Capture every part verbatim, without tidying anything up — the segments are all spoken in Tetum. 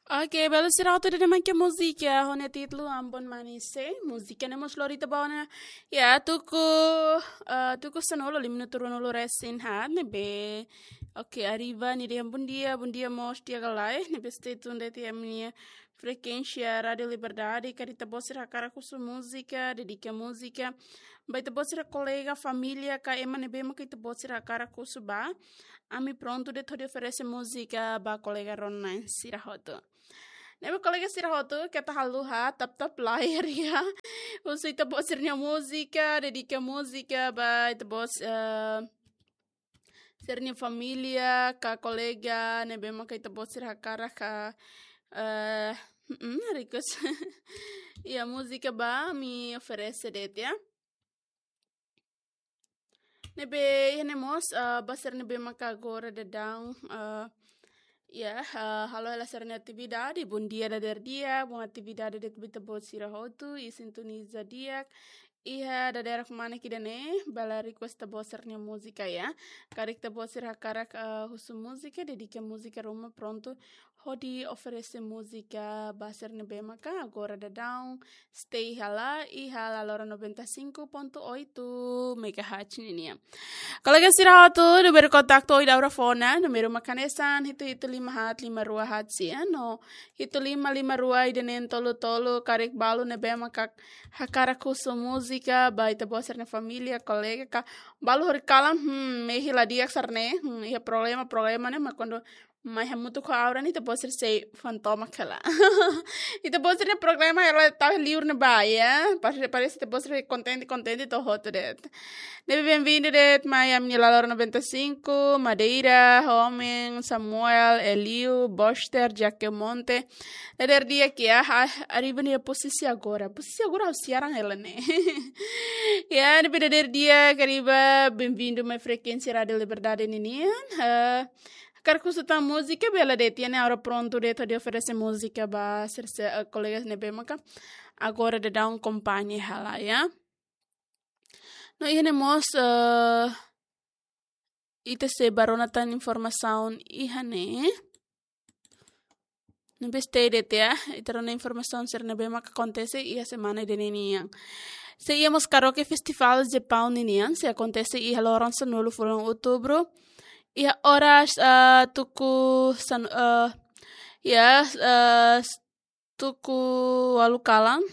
Oke, belun sira hotu, ida-ne'e mak múzika ho nia títulu Ambon Manise. Múzika ne'e mós lori ita ba ona iha tuku, eh, tuku sanulu, lima minutu ruanulu resin haat ne'ebé. Oke, arriba nia dehan bom dia, bom dia mós di'ak ka lae, ne'ebé stay tune de'it iha ami-nia frekuénsia Rádiu Liberdade, karik ita-boot sira hakarak husu múzika, dedika múzika ba ita-boot sira kolega, família, ka ema ne'ebé mak ita-boot sira hakarak husu ba. Ami prontu de'it hodi oferese múzika ba kolega rona-na'in sira hotu. Ne'ebé kolega sira hotu, keta haluha, tap-tap layar ya. Husu ita-boot sira-nia múzika, dedika múzika ba ita-boot, eh, sira-nia família, ka kolega, ne'ebé maka ita-boot sira hakarak ka, eh, mm, request. Iha múzika ba ami oferese de'it ya. Ne'ebé iha ne'e mós, eh, ba sira ne'ebé maka agora daudaun, eh, ya, eh, halo hela sira-nia atividade, bom dia dadeer di'ak, bom atividade de'it ba ita-boot sira hotu, i sintoniza di'ak iha dadeer-dadeer mak ida-ne'e, bele request ita-boot sira-nia múzika ya. Karik ita-boot sira hakarak, eh, husu múzika, dedika múzika ruma, prontu hodi oferese múzika ba sira ne'ebé maka agora daudaun stay hela iha La Lora noventa e cinco ponto oito megahertz ninian. Kolega sira hotu, númeru kontaktu Oid Aura Fona, númeru mak hanesan hitu hitu lima haat lima rua haat sia, no hitu lima lima rua ida-neen tolu tolu, karik balu ne'ebé maka hakarak husu múzika ba ita-boot sira-nia família, kolega ka balu horikalan, hmm, mehi la di'ak sira-ne'e, hmm, iha problema, problema ne'e, mak kuandu mai hamutuk ho Aura ne'e ita-boot sira sei fantoma hela. Ita-boot sira-nia programa hela tau liur ne'ebá ya. Parese, parese ita-boot sira kontente, kontente to'o hotu de'it. Ne'ebé bem-vindo de'it mai ami-nia La Lora noventa e cinco, Madeira, Homen, Samuel, Eliu, Boster, Jaquemonte. Dadeer di'ak ya, ah, arriba nia posisi agora. Posisi agora ha'u siaran hela ne'e. Ya, ne'ebé dadeer di'ak, arriba, bem-vindo mai frekuénsia Rádiu Liberdade ninian. Eh, hakarak husu tan múzika, bele de'it, iha ne'e Aura prontu de'it hodi oferese múzika ba sira, eh, kolega ne'ebé maka agora daudaun akompaña hela ya. No iha ne'e mós, eh, ita sei bá rona tan informasaun iha ne'e. Ne'ebé stay de'it ya, ita rona informasaun sira ne'ebé maka akontese iha semana ida-ne'e nian. Sei iha mós Karaoke Festival Japaun ninian, sei akontese iha loron sanulu fulan Outubru. Iha oras, eh, tuku san-, eh, ya, eh, tuku ualu kalan.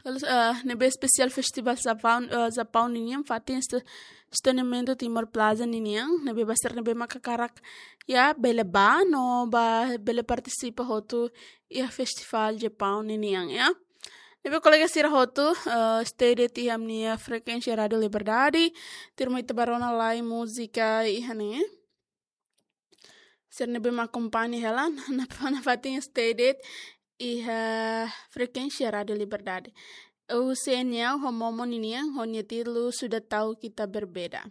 Lalu, eh, ne'ebé espesiál Festival Japaun, eh, Japaun ninian fatin esta-, estasionamentu Timor Plaza ninian, ne'ebé ba sira ne'ebé maka hakarak ya bele bá no ba bele partisipa hotu iha Festival Japaun ninian ya. Ne'ebé kolega sira hotu, eh, stay de'it iha ami-nia frekuénsia Rádiu Liberdade, tuirmai ita bá rona lai múzika iha ne'e. Sira ne'ebé mak akompaña hela, na, na, nafatin stay de'it iha frekuénsia Rádiu Liberdade. Husi Eniel ho Momo ninian, ho nia títulu Sudah Tahu Kita Berbeda.